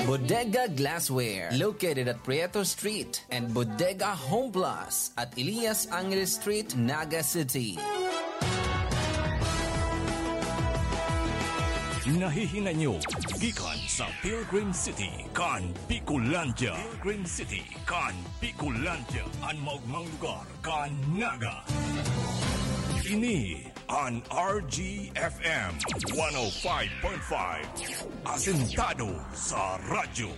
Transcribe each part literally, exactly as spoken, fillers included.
Bodega Glassware, located at Prieto Street, and Bodega Home Plus at Elias Angeles Street, Naga City. Nahihinay nyo gikan sa Pilgrim City kan Bicolandia. Pilgrim City kan Bicolandia, an maogmang lugar kan Naga. Ini an R G F M one oh five point five, asentado sa radyo.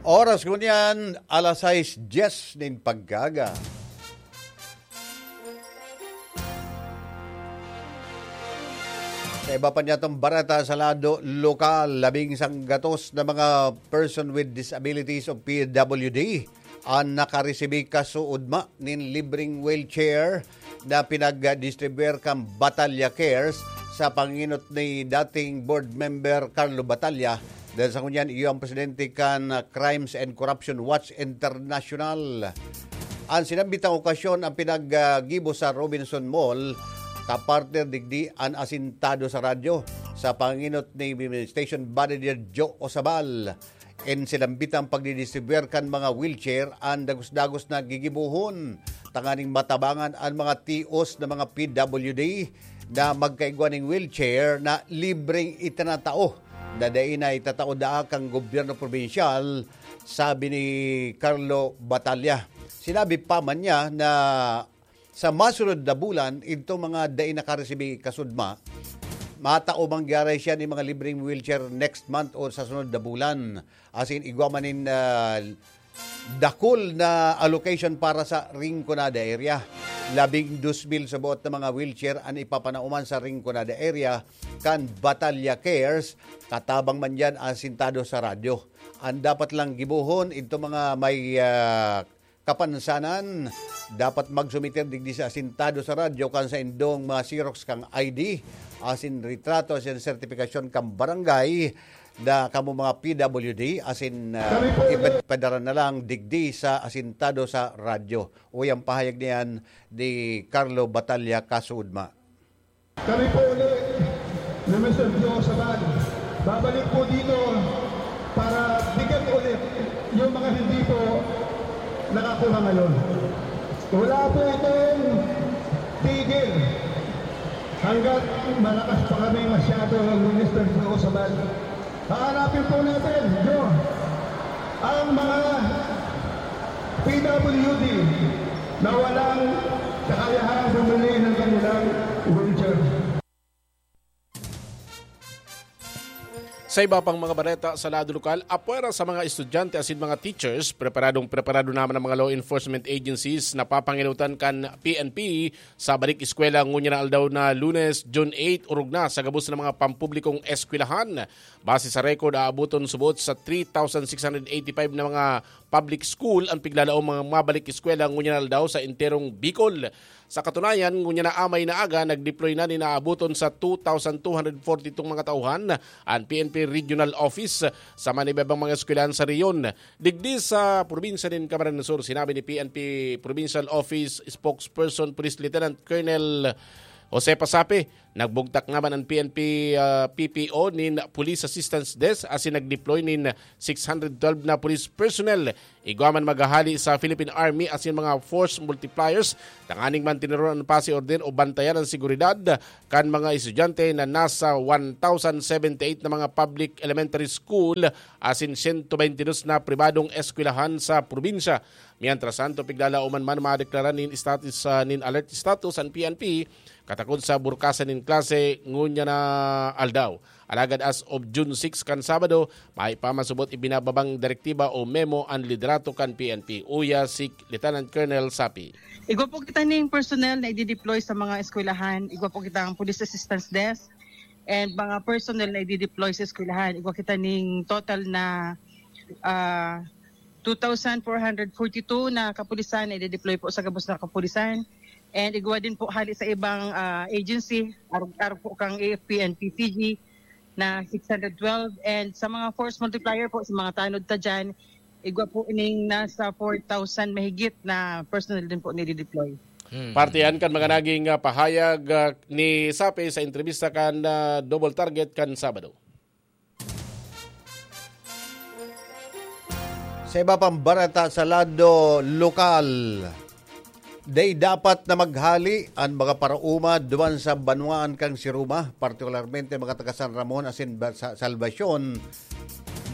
Oras ngunyan, alas sais dyes nin pagkaaga. Sa iba pa niyatong bareta sa lado lokal, labing sanggatos na mga person with disabilities o P W D an nakaresibi kasuodma nin libreng wheelchair na pinagdistribuer kan Batalya Cares sa panginot ni dating board member Carlo Batalya. Dahil sa ngunyan, iyo ang presidente kan, ah, Crimes and Corruption Watch International. An sinambitang okasyon ang pinaggibo sa Robinson Mall, kapartner digdi an asintado sa radyo sa panginot ni station manager Joe Osabal. In sinambitang pagdidistribuer kan mga wheelchair an dagos-dagos na gigibohon tanganing matabangan an mga tios na mga P W D na magkaigwa ning wheelchair na libreng itinatao na dai na itatao daa kan gobyerno probinsyal, sabi ni Carlo Batalya. Sinabi pa man niya na sa masunod na bulan, idto mga dai nakaresibi kasudma, matao man gyaray siya nin mga libreng wheelchair next month o sa sunod na bulan. Asin igwa man nin, ah, dakul na allocation para sa Rinconada area. Labing dos mil sa buot na mga wheelchair an ipapanao man sa Rinconada area kan Batalya Cares, katabang man diyan asintado sa radyo. An dapat lang gibohon, idto mga may, ah, kapansanan, dapat magsumiter digdi sa asintado sa radyo kan saindong mga xerox kan I D, asin retrato, asin sertipikasyon kan barangay, na kamo mga P W D, asin, ah, Kami po ulit. Ipadara na lang digdi sa asintado sa radyo. Uya ang pahayag niyan ni Carlo Batalya Kasudma. Kami po ulit ni Mister Joe Sabal. Babalik po dito para bigyan ulit yung mga hindi po nakakuha ngayon. Wala po itong tigil hanggat malakas pa kami masyado ng Mister Joe Sabal. Hahanapin po natin, Joe, ang mga P W D na walang kakayahang bumili ng kanilang wheelchair. Sa iba pang mga bareta sa lado lokal, apwera sa mga estudyante asin mga teachers, preparadong preparado naman ang mga law enforcement agencies na papanginutan kan P N P sa balik eskwela ngunyan na aldaw na Lunes, June eight, orog na sa gabos na mga pampublikong eskwelahan. Base sa record, aaboton subot sa three thousand six hundred eighty-five na mga public school ang piglalaom mga mabalik eskwela ngunyan na aldaw sa enterong Bicol. Sa katunayan, ngunyan na amay na aga, nag-deploy na nin aaboton sa two thousand two hundred forty-two mga tauhan an P N P Regional Office sa manibabang mga eskwelahan sa rehiyon. Digdi sa probinsya nin Camarines Sur, sinabi ni P N P Provincial Office Spokesperson Police Lieutenant Colonel Jose Pasape, nagbugtak naman an P N P, ah, P P O nin Police Assistance Desk asin nag-deploy nin six hundred twelve na police personnel. Igwa man maghahali sa Philippine Army asin mga force multipliers tanganing manteneron an pasi orden o bantayan an seguridad kan mga estudyante na nasa one thousand seventy-eight na mga public elementary school asin siyento baynte dos na pribadong eskwelahan sa probinsya. Mientras tanto, piglalaoman man madeklara nin status, ah, nin alert status an P N P katakod sa burkasan nin klase ngunyan na aldaw. Alagad as of June six kan Sabado, mayo pa masubot ibinababang direktiba o memo an liderato kan P N P. Uya si Lieutenant Colonel Sapi. Igwa po kita ning personnel na i-deploy sa mga eskwelahan. Igwa po kitang Police Assistance Desk and mga personnel na i-deploy sa eskwelahan. Igwa kita ning total na, ah, two thousand four hundred forty-two na kapulisan na i-deploy po sa gabos na kapulisan. And igwa din po hali sa ibang, ah, agency, arog-arog po kang A F P and P C G na six hundred twelve. And sa mga force multiplier po, sa mga tanod ta dyan, igwa po ining nasa four thousand mahigit na personnel din po nidideploy. Hmm. Parte yan kan mga naging, ah, pahayag, ah, ni Sape sa entrevista kan, ah, Double Target kan Sabado. Sa iba pang bareta sa lado lokal, dai dapat na maghali an mga paraoma duman sa banwaan kan Siruma, partikularmente mga taga San Ramon asin ba-, sa Salvacion.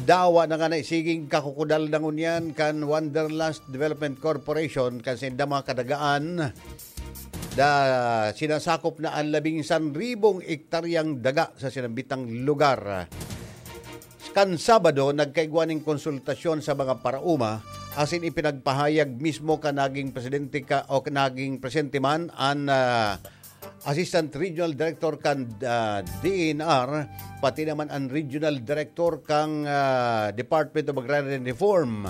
Dawa na nga naisiging kakukudal na ngunyan kan Wanderlust Development Corporation kan saindang mga kadagaan na sinasakop na an labing sanribong ektaryang daga sa sinambitang lugar. Kan Sabado, nagkaigwa nin konsultasyon sa mga paraoma asin ipinagpahayag mismo kan naging presidente ka, o naging presidente man an, ah, Assistant Regional Director kan, ah, D E N R, pati naman an Regional Director kan, ah, Department of Agrarian Reform.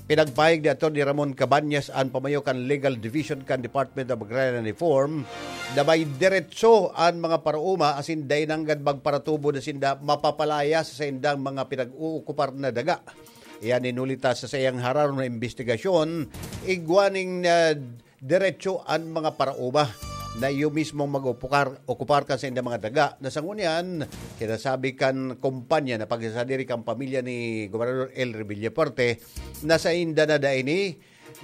Pinagpahayag ni Attorney Ramon Cabañas, an pamayo kan Legal Division kan Department of Agrarian Reform, na may deretso an mga paraoma asin dai nanggad magparatubo na sinda mapapalaya sa saindang mga pinag-uukupar na daga. Iyan inuli ta sa saiyang hararom na imbestigasyon, igwa ning, ah, deretso an mga paraoma na iyo mismong mag-upukar, okupar kan saindang mga daga na sa ngunyan, sinasabi kan kumpanya na pagsasadiri kan pamilya ni Gobernador Elry Villafuerte na sainda na daini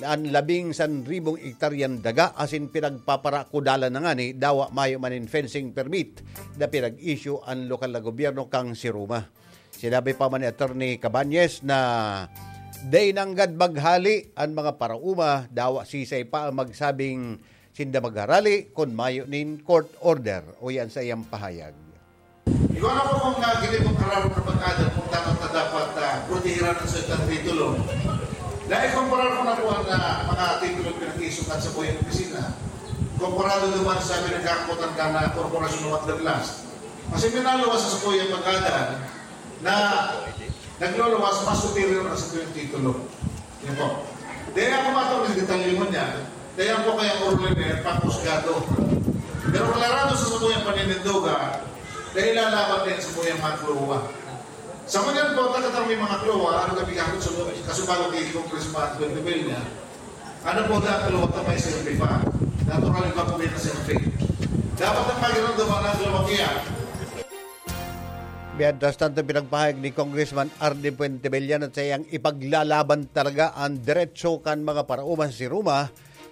an labing sanribong ektaryang daga asin pinagpaparakudalan na ngani dawa mayo man nin fencing permit na pinag-issue an lokal na gobyerno kan Siruma. Sinabi pa man ni Attorney Cabañas na dai nanggad maghali an mga paraoma, dawa sisay pa an magsabing sinda magharali kun mayo nin court order, uya an saiyang pahayag. Ikaw na po kung, ah, ginibo kararo na pag-ada kung dapat na dapat, ah, protehiran ang salitang titulo. Dahil kumparar ko na po ang, ah, mga titulo pinag-iisukan sa buhay opisina. Komparado naman sa pinagkakutan ka na korporasyon ng Wanderlust. Kasi minaluwas sa buhay ang pag-ada na nagluluwas, mas superior ang sa buhay titulo. Yan po. Dahil ako matang ng detalye mo niya, kaya po kaya orliner, pangkusgado. Pero klarado sa sabuyang panininduga, dahil lalaban din sa sabuyang mga klowa. Sa mga po, takatang may mga klowa, ano kami kahapon sa mga kasubago kay Congressman Gwen Revilla, ano po, da klowa ta may silbi pa. Natural yung kapuwi na silbi. Dapat ang pakiramdaman ng klowa kaya. Mientras tanto, pinagpahayag ni Congressman Arnie Fuentebella na sayang ipaglalaban talaga ang diretso kan mga paraoma sa Siruma.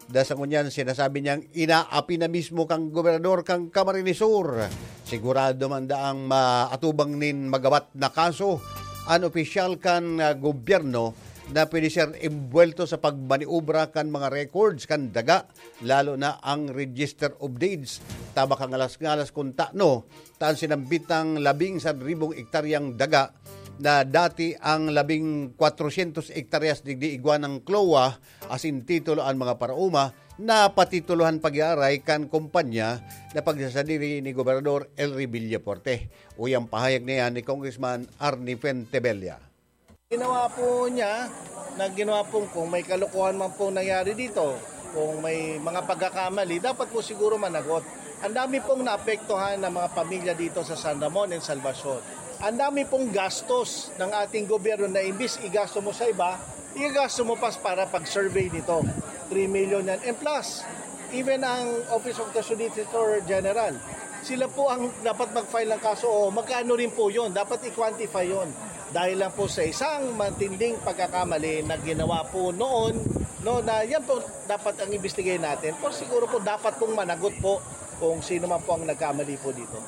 Da sa ngunyan, sinasabi niyang inaapi na mismo kang gobernador kan Camarines Sur. Sigurado man daang maatubang nin magawat na kaso an opisyal kan, ah, gobyerno na pwede siyang imbuwelto sa pagmaniobra kan mga records kan daga, lalo na ang Register of Deeds. Tabak ang alas-ngalas kung tano, ta an sinambitang labing sanribong ektaryang daga na dati ang labing kwatrosyentos ektaryas digdi igwa ng klowa asin titulo an mga paraoma na patitulohan pag-aaray kan kumpanya na pagsasadiri ni Gobernador Elry Villafuerte. Uyang pahayag niya ni Congressman Arnie Fuentebella. Ginawa po niya na ginawa pong kung may kalokohan man pong nangyari dito, kung may mga pagkakamali, dapat po siguro managot. Ang dami pong naapektuhan ng mga pamilya dito sa San Ramon and Salvacion. Ang dami pong gastos ng ating gobyerno na imbis igasto mo sa iba, igasto mo pa para pag-survey nito. Three million yan. And plus, even ang Office of the Solicitor General, sila po ang dapat mag-file ng kaso. O, magkano rin po yun? Dapat i-quantify yun. Dahil lang po sa isang matinding pagkakamali na ginawa po noon, no, na yan po dapat ang ibistigay natin. Pero siguro po dapat pong managot po kung sino man po ang nagkamali po dito.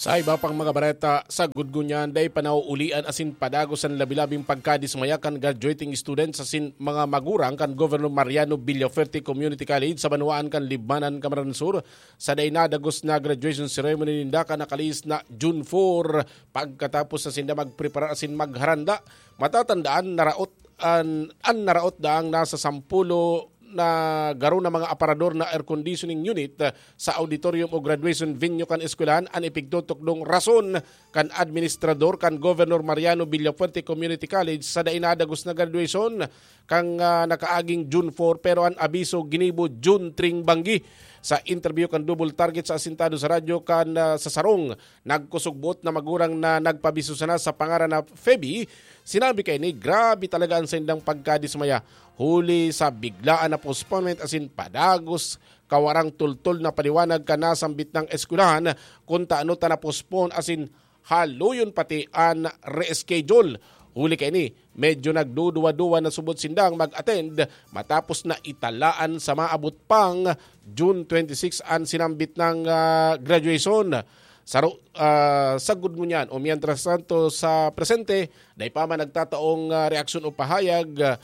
Sa iba pang mga bareta, sa gudgunyan, dai pa nauulian asin padagos an labi-labing pagkadismaya kan graduating students asin mga magurang kan Governor Mariano Villafuerte Community College sa banwaan kan Libmanan, Camarines Sur, sa dai nadagos na graduation ceremony ninda kan nakalihis na June four, pagkatapos na sinda magpreparar asin magharanda. Matatandaan, naraot an, an naraot daang nasa sampulo na garo na mga aparador na air conditioning unit, ah, sa auditorium o graduation venue kan eskwelahan an ipigtutukdong rason kan administrador kan Governor Mariano Villafuerte Community College sa dai nadagos na graduation kan, ah, nakaaging June four, pero an abiso ginibo June three banggi. Sa interview kan Double Target sa Asintado sa Radyo kan, ah, sa sarong nagkusog-buot na magurang na nagpabiso sana sa pangaran na Feby, sinabi kaini, grabe talaga an saindang pagkadismaya huli sa biglaan na postponement asin padagos kawarang tultol na paliwanag kan nasambit na eskwelahan kun tano ta na-postpone asin haloyon pati an reschedule. Huli kaini, medyo nagduduwa-duwa na subot sindang mag-attend matapos na italaan sa maabot pang June twenty-six an sinambit na, ah, graduation. Saro, ah, sagkod ngunyan o mientras tanto sa presente, dai pa man nagtataong, ah, reaksyon o pahayag, ah,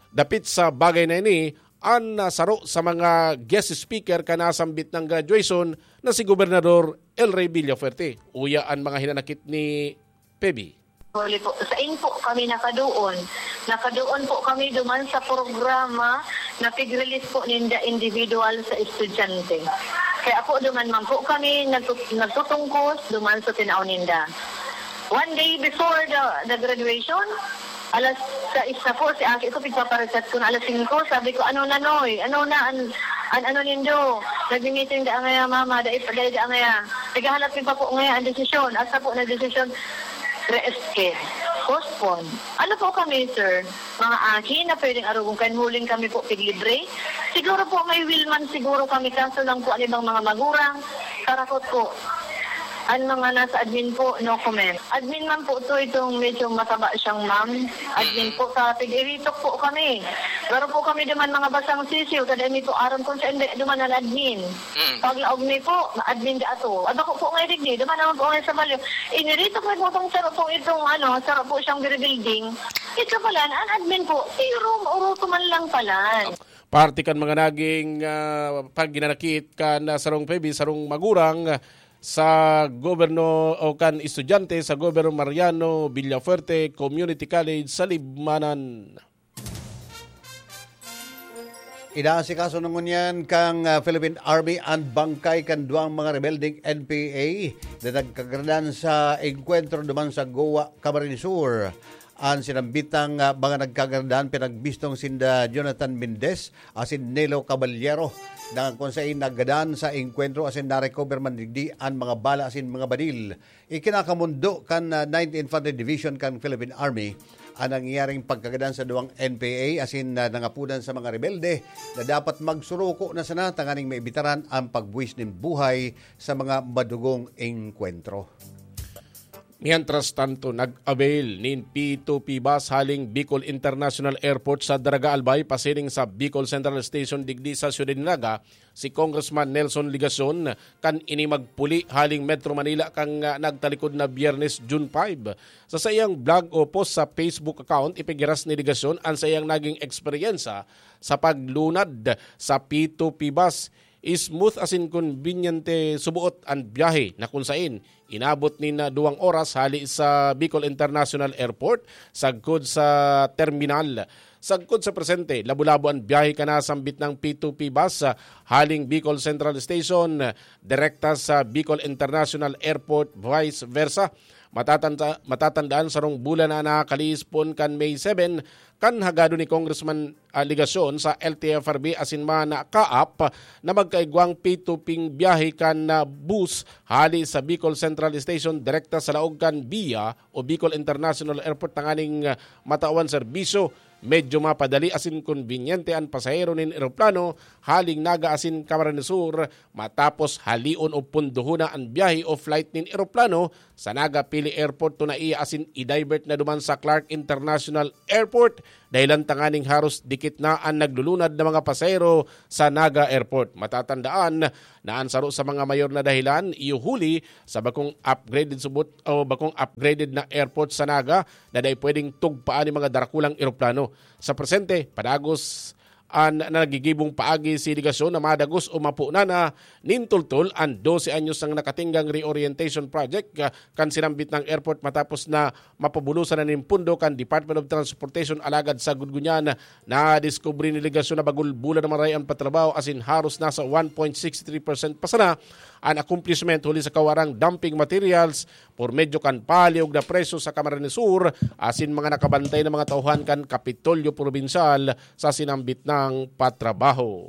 dapit sa bagay na ini, an, ah, saro sa mga guest speaker kan nasambit na graduation na si Gobernador El Rey Villafuerte. Uya an mga hinanakit ni Peby. Huli po, sain po kami nakadoon. Nakadoon po kami duman sa programa na pig-release po ninda individual sa estudyante. Kaya po duman man po kami nagtut-, nagtutungkos duman sa tinao ninda. One day before the, the graduation, alas sais na po, si aki ko, pigpapareset ko na alas singko. Sabi ko, "Ano na, Noy? Ano na an, an ano nindo? Nagmi-meeting da ngaya, Mama, dai pa, dai da ngaya." Naghahanap mi pa po ngaya ang desisyon. Asa po na desisyon? Reeskin. Postpone. Ano po kami, sir? Mga aki na pwedeng arugon kan huling kami po piglibre? Siguro po may will man siguro kami, kaso lang po ang ibang mga magurang, karakot po. Ang mga nasa admin po, no comment. Admin man po to, itong medyo mataba siyang ma'am. Admin po, sa tig-iritok po kami. Garo po kami naman mga basang sisiw, kada mi po aram kung saan di-, duman ang admin. Mm. Paglaog mi po, admin da ato. Ada ko po ngay digdi, duman naman po ngay sa balyo. Iniritok mi po itong saro po itong, ano, saro po siyang rebuilding. Ito pala, ang admin po, si Rom Uruto man lang pala. Parte kan mga naging, ah, paghinanakit kan, ah, sarong P B, sarong magurang sa gobyerno o kan estudyante sa Gobyerno Mariano Villafuerte Community College sa Libmanan. Inaasikaso na ngunyan kan, ah, Philippine Army an bangkay kan duwang mga rebeldeng N P A na nagkagradan sa engkwentro duman sa Goa, Camarines Sur. An sinambitang, ah, mga nagkagradan pinagbistong sinda Jonathan Mendez asin Nelo Caballero, na kun saen naggadan sa engkwentro asin narecover man digdi an mga bala asin mga baril. Ikinakamondo kan, ah, Ninth Infantry Division kan Philippine Army an nangyayaring pagkagadan sa duwang N P A asin, ah, nangapodan sa mga rebelde na dapat magsuruko na sana tanganing maibitaran an pagbuwis nin buhay sa mga madugong engkwentro. Mientras tanto, nag-avail nin P two P bus haling Bicol International Airport sa Daraga Albay pasiring sa Bicol Central Station digdi sa siyudad nin Naga si Congressman Nelson Legacion kan ini magpuli haling Metro Manila kan, ah, nagtalikod na Biyernes, June five. Sa saiyang blog o post sa Facebook account, ipighiras ni Legacion an saiyang naging eksperyensa sa paglunad sa P two P bus. Smooth asin konbinyente suboot an biyahe na kun saen inabot nin duwang oras hali sa Bicol International Airport sagkod sa terminal. Sagkod sa presente, labo-labo an biyahe kan nasambit na P two P bus, ah, haling Bicol Central Station, direkta sa Bicol International Airport, vice versa. Matatanda-, matatandaan, sarong bulan na nakalihis poon kan May seven, kan hagado ni Congressman, ah, Legacion sa L T F R B asin man CAAP na magkaigwang P two P biyahe kan, ah, bus hali sa Bicol Central Station direkta sa laog kan BIA o Bicol International Airport tanganing, ah, matawan serbisyo. Medyo mapadali asin konbinyente an pasahero nin eroplano haling Naga asin Camarines Sur matapos halion o pundohona an biyahe o flight nin eroplano sa Naga Pili Airport to naiya asin i-divert na duman sa Clark International Airport, dahilan tanganing haros dikit na an naglulunad na mga pasahero sa Naga Airport. Matatandaan na an saro sa mga mayor na dahilan iyo huli sa bakong upgraded subot o bakong upgraded na airport sa Naga na dai pwedeng tugpaan nin mga darakulang eroplano. Sa presente, padagos an nagigibong paagi si Legacion na madagos o mapunan na nin toltol an dose anyos nang nakatinggang reorientation project, ah, kan sinambit na airport matapos na mapabulosan na nin pondo kan Department of Transportation. Alagad sagkod ngunyan, nadiskubre ni Legacion na bagong bulan na maray an patrabaho asin haros nasa one point six three percent pa sana an accomplishment huli sa kawarang dumping materials por medyo kan paliog na presyo sa Camarines Sur asin mga nakabantay na mga tauhan kan Kapitolyo Probinsyal sa sinambit na patrabaho.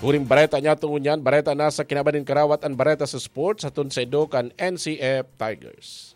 Huring bareta niyato ngunyan, bareta na sa kinaban nin karawat an bareta sa sports, hatod saindo kan N C F Tigers.